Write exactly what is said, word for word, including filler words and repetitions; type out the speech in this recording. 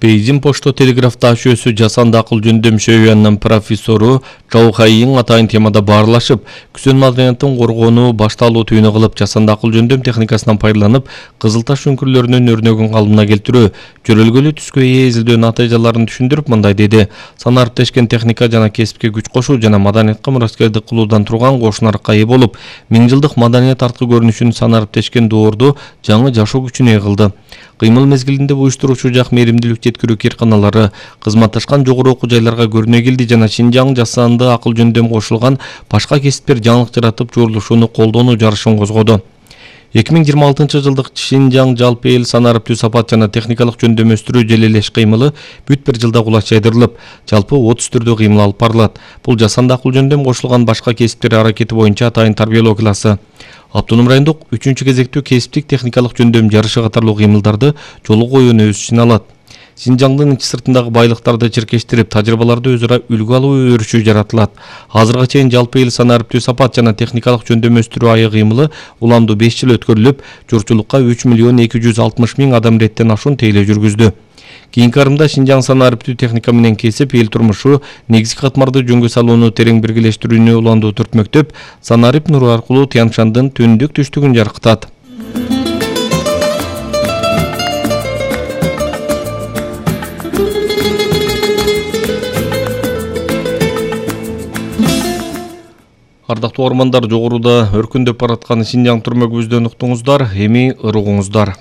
Бейжин Почто телеграф ташуусу жасанды акыл жөндөм шөбүнүн профессору Чоу Хайин атайын темада баарлашып, күзөн маданияттын коргоону башталуу түйүнү кылып, жасанды акыл жөндөм техникасынан пайдаланып, Кызыл Таш үңкүрлөрүнүн өрнөгүн калыбына келтирүү, жөрөлгөлүү түскө ээ изилдөө натыйжаларын түшүндүрүп мындай деди: санариптешкен техника жана кесипке күч кошуу жана маданиятка мураскердик кылуудан турган кошунарыкка ээ болуп, миң жылдык маданият арткы көрүнүшүн санариптешкен доорду жаңы жашоо күчүнө ээ кылды. Кыймыл мезгилинде уюштуруучу жак мээримдүүлүк жеткирүү кирканалары кызматташкан жогору окуу жайларга көрүнө келди жана Шинжаң жасанды акыл жөндөм кошулган башка кесиптер жаңылык жаратып журулушуну колдонуу жарышын козгоду. эки миң жыйырма алтынчы жылдык Шинжаң жалпы эл санариптүү сапат жана техникалык жөндөм өстүрүү желелеш кыймылы бүт бир жылда кулач жайдырылып, жалпы отуз түрдө кыймыл алып барылат. Бул жасанды акыл жөндөм кошулган башка кесиптер аракети боюнча атайын тарбиялоо классы. Автоном райондук үчүнчү кезектүү кесиптик техникалык жөндөм жарышы катарлуу кыймылдарды жолго коюуну өз ичине алат. Шинжаңдын ичи сыртындагы байлыктарды чиркештирип, тажрыйбаларды өзара үлгү алуу өрүшү жаратылат. Азырга чейин жалпы эл санариптүү сапат жана техникалык жөндөм өстүрүү айы кыймылы уламдуу беш жыл өткөрүлүп, журтчулукка үч миллион эки жүз алтымыш миң адам реттен ашуун тейлөө жүргүздү. Кийинки арымда Шинжаң санариптүү техника менен кесип, эл турмушу, негизги катмарды жөнгө салууну терең биргелештирүүнү уландуу түртмөктөп, санарип нуру аркылуу Тянь-Шандын түндүк түштүгүн жарыктат. Ардактуу угармандар, жогоруда өркүндөп бараткан Шинжаң түрмөгүбүздөн уктуңуздар, эми ырыгуңуздар.